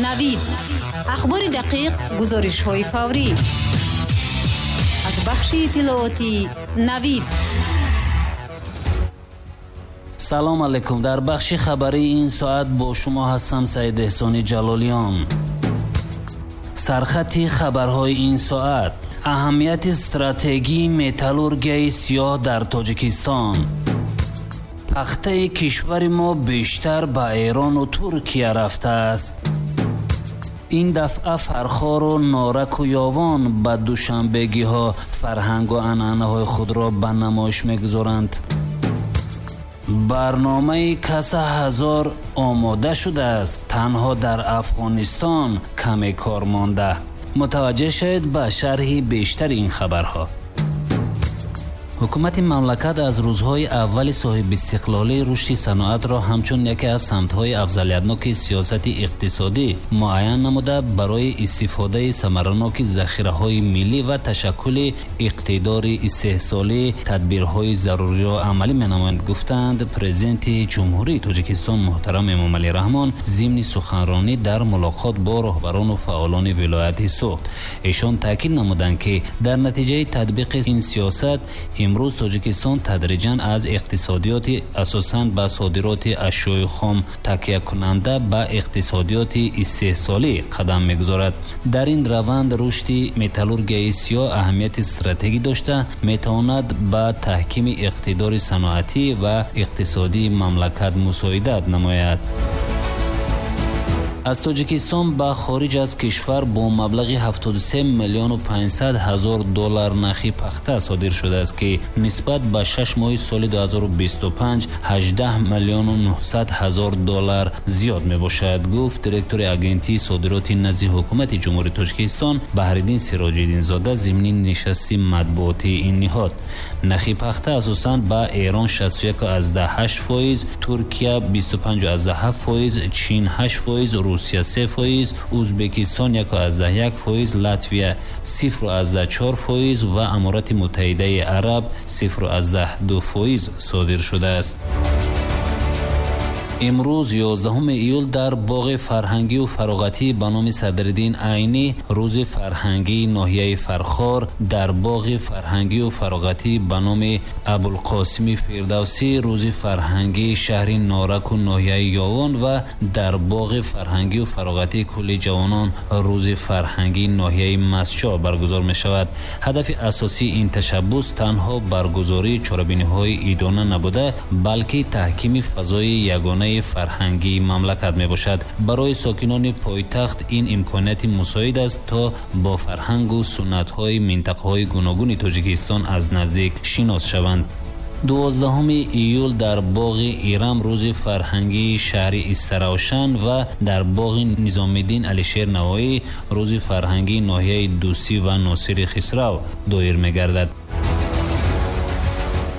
Навид, ахбори дақиқ, гузоришҳои фаврӣ аз бахши иттилоотии Навид. Салом алейкум. Дар бахши хабарии ин соат бо шумо ҳастам Саид Эҳсони Ҷалолиён. Сархати хабарҳои ин соат: аҳамияти стратегии металлургияи сиёҳ дар Тоҷикистон. Пахтаи кишвари мо бештар ба Эрону Туркия рафтааст. Ин дафъа Фархору Нораку Ёвон ба душанбегиҳо фарҳангу анъанаҳои худро ба намоиш мегузоранд. Барномаи каса ҳазор омода шудааст, танҳо дар Афғонистон каме кор монда. Мутаваҷҷеҳ шавед ба шарҳи бештари ин хабарҳо. Ҳукумати мамлакат аз рӯзҳои аввали соҳибистиқлолӣ рушди саноатро ҳамчун яке аз самтҳои афзалиятноки сиёсати иқтисодӣ муайян намуда, барои истифодаи самараноки захираҳои миллӣ ва ташаккули иқтидори истеҳсолӣ тадбирҳои заруриро амалӣ менамоянд, гуфтанд Президенти Ҷумҳурии Тоҷикистон муҳтарам Эмомалӣ Раҳмон зимни суханронӣ дар мулоқот бо роҳбарону фаъолони вилояти Суғд. Эшон таъкид намуданд, ки дар натиҷаи татбиқи ин сиёсат имрӯз Тоҷикистон тадриҷан аз иқтисодиёти асосан ба содироти ашёи хом такякунанда ба иқтисодиёти истеҳсолӣ қадам мегузорад. Дар ин раванд рушди металлургияи сиёҳ аҳамияти стратегӣ дошта, метавонад ба таҳкими иқтидори саноатӣ ва иқтисодии мамлакат мусоидат намояд. Аз Тоҷикистон ба хориҷ аз кишвар бо маблағи 73 миллиону 500 ҳазор доллар нархи пахта содир шудааст, ки нисбат ба 6 моҳи соли 2025 18 миллиону 900 ҳазор доллар зиёд мебошад, гуфт директори Агентии содироти назди Ҳукумати Ҷумҳурии Тоҷикистон Баҳриддин Сироҷиддинзода зимни нишасти матбуотии ин ниҳод. Нархи пахта асосан ба Эрон 61,8%, Туркия 25,7%, Чин 8%, Русия 3%, Узбекистон 1,1%, Латвия 0,4% ва Аморати Муттаҳидаи Араб 0,2% содир шудааст. Имрӯз 11 июл дар боғи фарҳангию фароғатӣ ба номи Садриддин Айнӣ рӯзи фарҳангии ноҳияи Фархор, дар боғи фарҳангию фароғатӣ ба номи Абулқосими Фирдавсӣ рӯзи фарҳангии шаҳри Нораку ноҳияи Ёвон ва дар боғи фарҳангию фароғатии кулли ҷавонон рӯзи фарҳангии ноҳияи Мастчоҳ баргузор мешавад. Ҳадафи асосии ин ташаббус танҳо баргузории чорабиниҳои идона набуда, балки таҳкими фазои ягонаи фарҳангии мамлакат мебошад. Барои сокинони пойтахт ин имконияти мусоид аст, то бо фарҳангу суннатҳои минтақаҳои гуногуни Тоҷикистон аз наздик шинос шаванд. 12 июл дар боғи Ирам рӯзи фарҳангии шаҳри Истаравшан ва дар боғи Низомиддин Алишер Навоӣ рӯзи фарҳангии ноҳияи Дӯстӣ ва Носири Хисрав доир мегардад.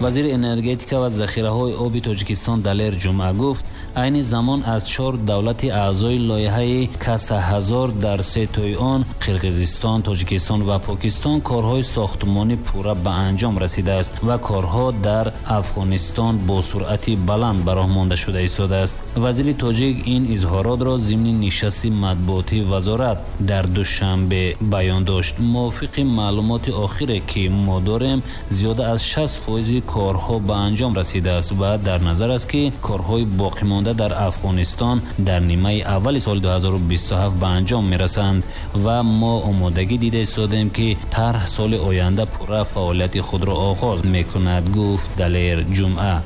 Вазири энергетика ва захираҳои оби Тоҷикистон Далер Ҷумъа гуфт, айни замон аз 4 давлати аъзои лоиҳаи каса ҳазор дар се тои он Қирғизистон, Тоҷикистон ва Покистон корҳои сохтмонӣ пурра ба анҷом расидааст ва корҳо дар Афғонистон бо суръати баланд ба роҳ монда шуда истодааст. Вазири тоҷик ин изҳоротро зимни нишасти матбуотии вазорат дар Душанбе баён дошт. Мувофиқи маълумоти охире, ки мо дорем, зиёда аз 60% корҳо ба анҷом расидааст ва дар назар аст, ки корҳои боқимонда дар Афғонистон дар нимаи аввали соли 2027 ба анҷом мерасанд ва мо омодагӣ дида истодем, ки тарҳ соли оянда пурра фаъолияти худро оғоз мекунад, гуфт Далер Ҷумъа.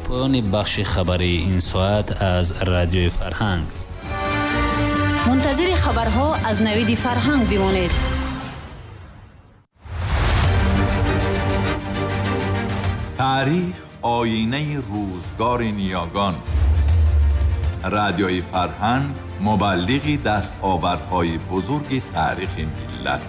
Поёни бахши хабарии ин соат аз Радиои Фарҳанг. Мунтазири хабарҳо аз Навиди Фарҳанг бимонед. Таърих оинаи рӯзгори ниёгон. Радиои Фарҳанг мубаллиғи дастовардҳои бузурги таърихи миллат.